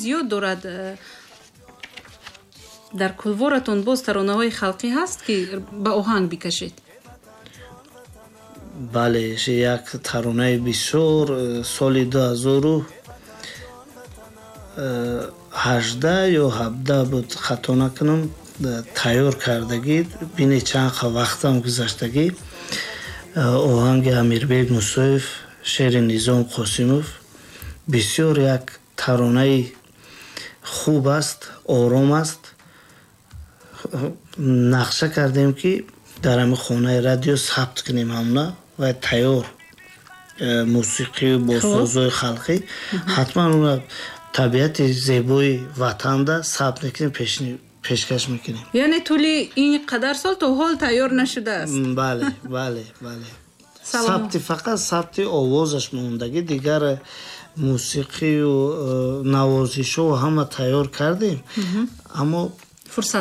зиёд дорад. Дар кулворатон боз таронаҳои халқӣ ҳаст, ки ба оҳанг бикашед? Бале, як таронаи бисёр соли 2018 ё 17 буд, хато накунам, тайёр кардагӣ. Бине, чанд вақтам гузаштагӣ. Оҳанги Амирбек Мусоев, шеъри Низом Қосимов. Бисёр як таронаи хуб аст, ором аст. Нақша кардем, ки дар ҳамин хонаи радио сабт кунем ҳамна ва тайёр мусиқию бо созҳои халқӣ. Ҳатман уна табиати зебои ватанда сабт мекунем, пешкаш мекунем. Яъне тӯли ин қадар сол то ҳол тайёр нашудааст? Бале, сабти, фақат сабти овозаш мондагӣ. Дигар мусиқию навозишҳо ҳама тайёр кардем, аммо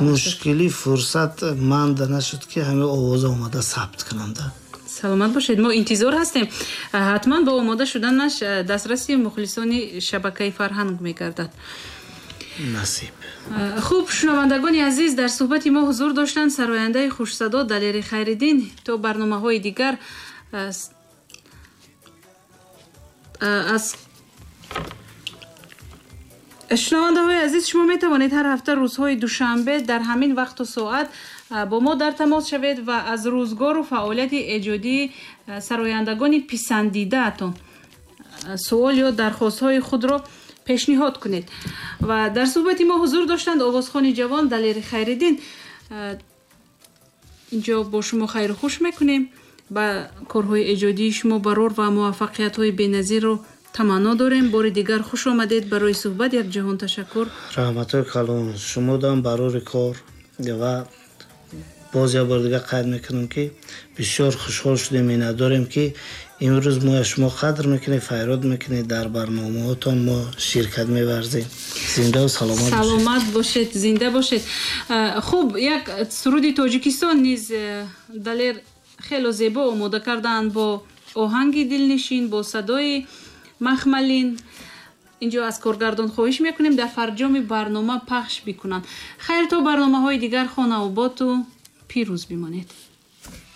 мушкили фурсат манда нашуд, ки ҳамин овоза омада сабт кунанда. Саломат бошед, мо интизор ҳастем. Ҳатман бо омода шуданаш дастраси мухлисони шабакаи «Фарҳанг» мегардад. Насиб. Хуб, шунавандагони азиз, дар суҳбати мо ҳузур доштанд сарояндаи хушсадо Далери Хайриддин. То барномаҳои дигар аз шунавандаҳои азиз, шумо метавонед ҳар ҳафта рӯзҳои душанбе дар ҳамин вақту соат бо мо дар тамос шавед ва аз рӯзгору фаъолияти эҷодии сарояндагони писандидаатон суол ё дархостҳои худро пешниҳод кунед. Ва дар суҳбати мо ҳузур доштанд овозхони ҷавон Далери Хайриддин. Инҷо бо шумо хайру хуш мекунем. Ба корҳои эҷодии шумо барор ва муваффақиятҳои беназирро таманно дорем. Бори дигар хуш омадед барои суҳбат, як ҷаҳон ташаккур. Раҳматҳои калон шумодам, барори кор. Ва боз як бор дигар қайд мекунам, ки бисёр хушҳол шудем, миннатдорем, ки имрӯз мо шумо қадр мекунед, фарёд мекунед, дар барномаҳотон мо ширкат меварзем. Зиндаву саломат. Саломат бошед, зинда бошед. Хуб, як суруди Тоҷикистон низ Далер хело зебо омода кардаанд, бо оҳанги дилнишин, бо садои махмалин. Инҷо аз коргардон хоҳиш мекунем, дар фарҷоми барнома пахш бикунанд. Хайр, то барномаҳои дигар хонаоботу пирӯз бимонед.